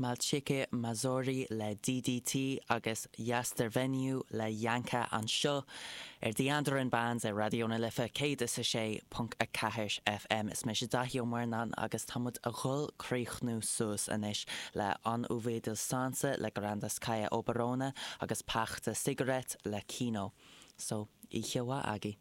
Malchike Mazori le DDT agus Yastervenue le Yanka anseo ar The Andaran Bands ar Raidió na Life 106.4 FM. Is mise Daithí Ó Murnáin agus tá muid a dhul críochnú suas anois le An Uvedil Sansa le Grandas Kaya Oberona agus Pachta Cigarette le Kino. So, oíche mhaith agaibh.